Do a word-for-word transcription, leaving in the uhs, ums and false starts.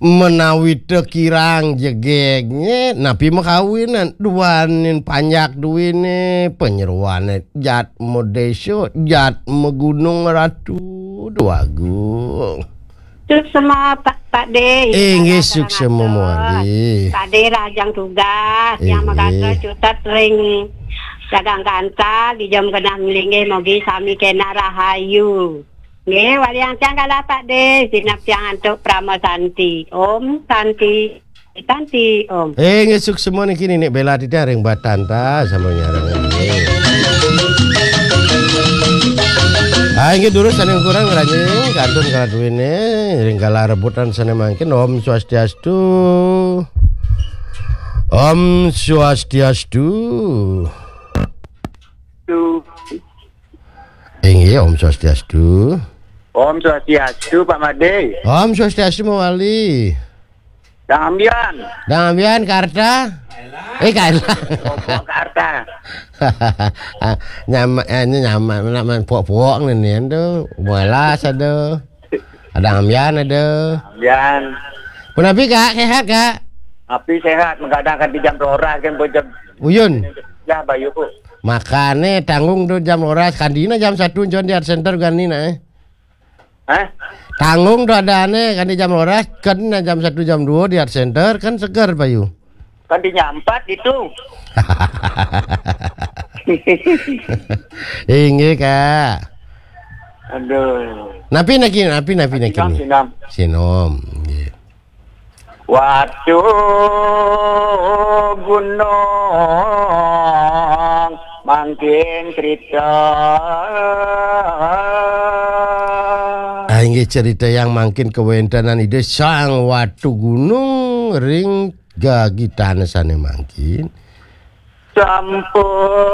Menawi teu kirang jegegné, napi makawinan, duaning panjak duwiné, panyeroané jat madésa, jat magunung, Ratu Déwagung. Suksema, Pak, Pak Dé. Inggih, suksema, Mawali. Pak Dé rahajeng tugas, yang magadra cutet ring dagang kantal, di jam genah linggih, mugi sami kénak rahayu. Nggih, waliang tiang galah, Pak Dé, sineb tiang antuk Parama Santi. Om Santi, Santi, Om. Eh, nggih, suksema niki Ninik Bella titiang ring Batanta, sampun nyarengin. Ah, inggih durus sané kurang ngranjing, kantun kaladuwiné, ring galah rebutan sané mangkin. Om Swastiastu. Om Swastiastu. Tuh. Inggih, Om Swastiastu. Om Swastiastu, Pak Madé. Om Swastiastu, Mawali. Dang Ambian. Dang Ambian, Karta? Eh, Karta. Karta. Nyama, eh, ini nyama, nama pok-pok nih, nih, tuh. Mualas ada. Ada Ambian ada. Ambian. Punapi, Kak, sehat, Kak? Api sehat, mengadang kan di jam roras kan, jam Uyun. Ya, Bayu, Bu. Makane tanggung tuh jam roras, kandina jam satu John di Art Center ganina, eh. Hah? Tanggung tuh adané kan di jam roras, kan jam satu jam dua di Art Center, kan seger, Bayu. Kan dinyampat itu. Inggih, Kak. Aduh. Napi niki, napi, napi niki. Sinom, nih. Sinom. Nggih. Watu Gunung mangkin cerita. Ah, inggih, cerita yang mangkin kawéntenan Ida Sang Watu Gunung ring gagitané sané mangkin. Sampun